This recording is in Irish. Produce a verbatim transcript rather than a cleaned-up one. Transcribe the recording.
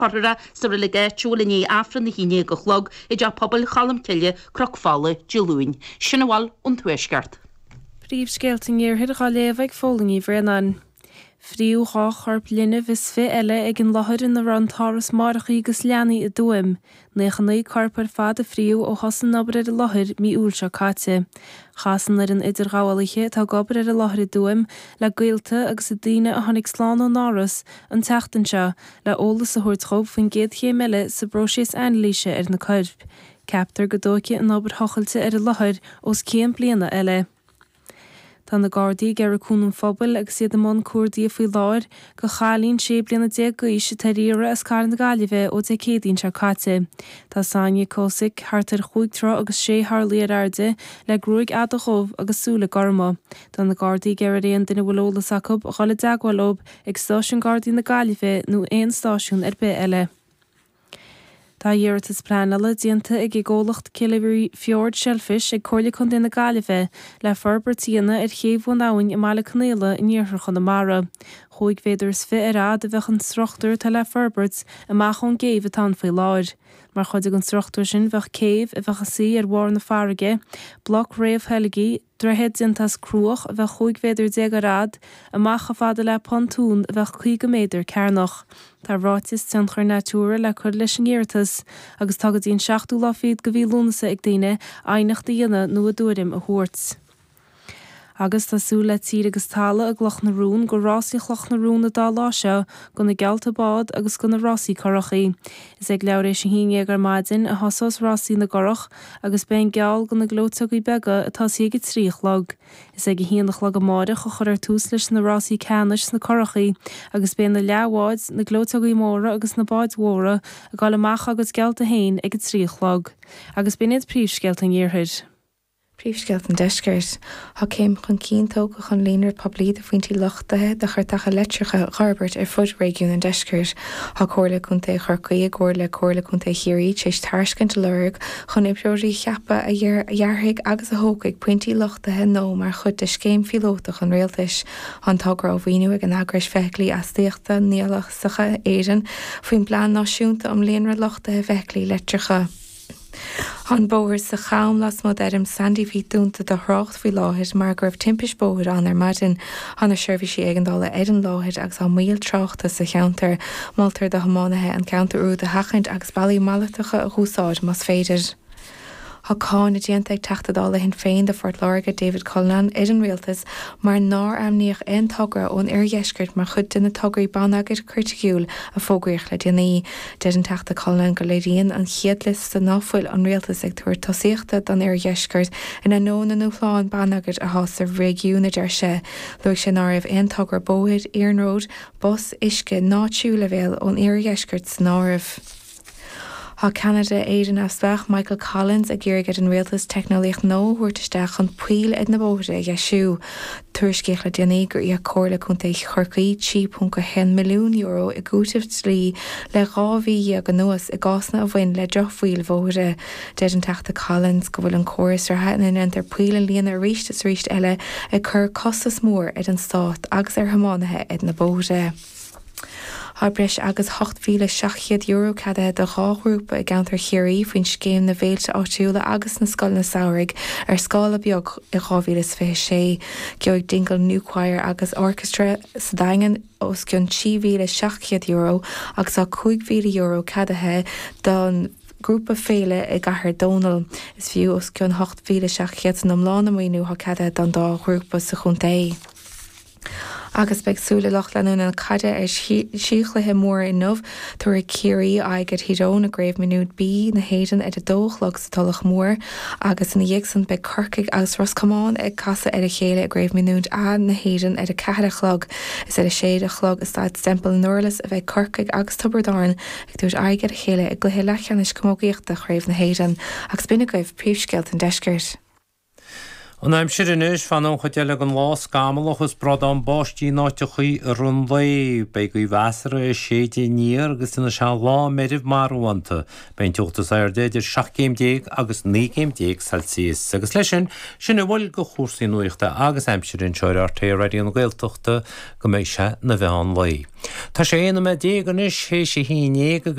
Cuirfear sa reilig áitiúil i ndiaidh Aifreann a haon déag a chlog i dTeach Pobail Cholmcille, Cnoc Fola, Dé Luain. Sin a bhfuil ón Tuaisceart. Príomhscéalta an Iarthair á léamh ag Fódhla Ní Bhraonáin. Fríodh dhá chorp linbh is fiche eile ag an láthair ina raibh an t-áras máithreacha agus leanaí i dTuaim. Naocha naoi corp ar fad a fríodh ó thosaigh an obair ar an láthair mí Iúil seo caite. Chas an fhoireann idirghabhálaithe atá ag obair ar an láthair i dTuaim le gaolta agus daoine a tháinig slán ón áras an tseachtain seo le eolas a thabhairt dóibh faoin gcéad chéim eile sa bpróiseas anailíse ar na coirp. Ceaptar go dtógfaidh an obair thochailte ar an láthair os cionn bliana eile. Tá na Gardaí ag iarraidh cúnamh an phobail agus iad i mbun cuardaigh faoi láthair do chailín sé bliana déag d'aois atá ar iarraidh as cathair na Gaillimhe ó Dé Céadaoin seo caite. Tá Sonia Kosick thart ar chúig troigh agus sé horlaí ar airde le gruaig fhada dhubh agus súile gorma. Tá na Gardaí ag iarraidh ar aon duine a bhfuil eolas acu a dhul i dteagmháil leo ag Stáisiún Gardaí na Gaillimhe nó aon stáisiún ar bith eile. Tá iarratas pleanála déanta ag an gcomhlacht Killary Fjord Shellfish ag Comhairle Contae na Gaillimhe le forbairt a dhéanamh ar chéibh Bhun Abhainn i mBaile Conaola in iarthar Chonamara. Chúig mhéadar is fiche ar fhad a bheadh an struchtúr atá le forbairt amach ón gcéibh atá ann faoi láthair. Mar chuid den struchtúr sin bheadh céibh a bheadh ina suí ar bharr na farraige, bloc réamhtheilgthe, droichead déanta as cruach a bheadh chúig mhéadar déag ar fhad, amach chomh fada le pontún a bheadh caoga méadar cearnach. Tá ráiteas tionchair Natura le cur leis an iarratas agus tá go dtí an seachtú lá fichead de mhí Lúnasa ag daoine aighneacht a dhéanamh nó a dtuairim a thabhairt. Agus tá súil le tír agus talamh i gCloch na Rún go rásaí Chloch na Rún an dá lá seo do na geallta bád agus do na rásaí curachaí. Is ag leathuair tar éis a haon déag ar maidin a thosós rásaí na gcurach agus beidh an geall do na gleoiteogaí beaga ag tosaí ag a trí a chlog. Is ag a haon a chlog amárach a chuirfear tús leis na rásaí ceannais sna curachaí agus beidh na leathbháid, na gleoiteogaí móra agus na báid mhóra ag dul amach dá gcuid geallta féin ag a trí a chlog. Agus b'in iad príomhscéalta an Iarthair. Príomhscéalta an Deiscirt. Tá céim chun cinn tógtha chun líonra poiblí de phointí luchtaithe do chairteacha leictreacha a fhorbairt ar fud réigiún an Deiscirt. Tá Comhairle Contae Chorcaí i gcomhar le Comhairle Contae Chiarraí tar éis tairiscint a lorg chun oibreoirí a cheapadh a dhearfaidh agus a thógfaidh pointí luchtaithe nua mar chuid de scéim phíolótach an rialtais. Tá an togra á mhaoiniú ag an eagrais Feithiclí Astaíochta Nialasacha Éireann faoin bPlean Náisiúnta um Líonra Luchtaithe Feithiclí Leictreacha. Tá an bóthar sa Cham lasmuigh d'fheirm Sandy Pete dúnta do thrácht faoi láthair mar go raibh timpiste bóthair ann ar maidin. Tá na seirbhísí éigeandála ar an láthair agus tá moill tráchta sa cheantar. Moltar do thiománaithe an ceantar úd a sheachaint agus bealaí malartacha a úsáid más féidir. Tá cáineadh déanta ag Teachta Dála Shinn Féin do Phort Láirge David Cullinane ar an rialtas mar nár ainmníodh aon togra ón oirdheisceart mar chuid de na tograí bonneagair chriticiúil a fógraíodh le déanaí. Deir an Teachta Cullinane go léiríonn an chéad liosta ná fuil an rialtas ag tabhairt tosaíochta don oirdheisceart in ainneoin na ndúshlán bonneagair atá sa réigiún a deir sé. Luaigh sé ná raibh aon togra bóthair, iarnróid, bus, uisce ná tríú leibhéal ón iardheisceart san áireamh. Tá ceannaire Éire Neamhspleách Michael Collins ag iarraidh ar an rialtas teicneolaíocht nua a thabhairt isteach chun poill ar na bóithre a dheisiú. Tuairiscíodh le déanaí gur íoc Comhairle Contae Chorcaí trí ponc a haon milliún euro i gcúiteamh dlí le dhá mhí dhéag anuas i gcásanna a bhain le drochbhail bhóithre. Deir an Teachta Collins go bhfuil an córas reatha ina ndéantar poill a líonadh arís is arís eile ag cur costas mór ar an stát agus ar thiománaithe ar na bóithre. Tá breis agus ocht mhíle seacht gcéad euro ceadaithe do dhá ghrúpa i gceantar Chiarraí faoin scéim na bhféilte áitiúla agus na scoileanna samhraidh ar scála beag i dhá mhíle is fiche sé. Gheobhaidh Dingle New Choir agus Orchestra sa Daingean os cionn trí mhíle seacht gcéad euro agus tá cúig mhíle euro ceadaithe don ghrúpa Féile i gCathair Dónall. Is fiú os cionn ocht mhíle seacht gcéad san iomlán an maoiniú atá ceadaithe don dá ghrúpa sa chontae. Agus beidh súile lucht leanúna na caide ar thrí chluiche móra inniu. Tabharfaidh Ciarraí aghaidh ar Thír Eoghain i gCraobh Mionúir B na hÉireann ar a dó a chlog sa Tulach Mhór agus ina dhiaidh san beidh Corcaigh agus Ros Comáin ag casadh ar a chéile i gCraobh Mionúir A na hÉireann ar a ceathair a chlog. Is ar a sé a chlog i Staid Semple i nDurlas a bheidh Corcaigh agus Tiobraid Árann ag tabhairt aghaidh ar a chéile i gcluiche leathcheannais camógaíochta Chraobh na hÉireann. Agus b'in agaibh príomhscéalta an Deiscirt. An aimsir anois fanfaidh an chuid eile den lá scamallach is bradán báistí in áiteachaí i rith an lae. Beidh gaoth mheasartha ag séideadh aniar agus déanfaidh sé lá meirbh marbhánta. Beidh an teocht is airde idir seacht gcéim déag agus naoi gcéim déag Celsius. Agus leis sin, sin a bhfuil de chúrsaí nuachta agus aimsire anseo ar RTÉ Raidió na Gaeltachta go mbeidh sé 'na mheán lae. Tá sé aon nóiméad déag anois théis a haon déag agus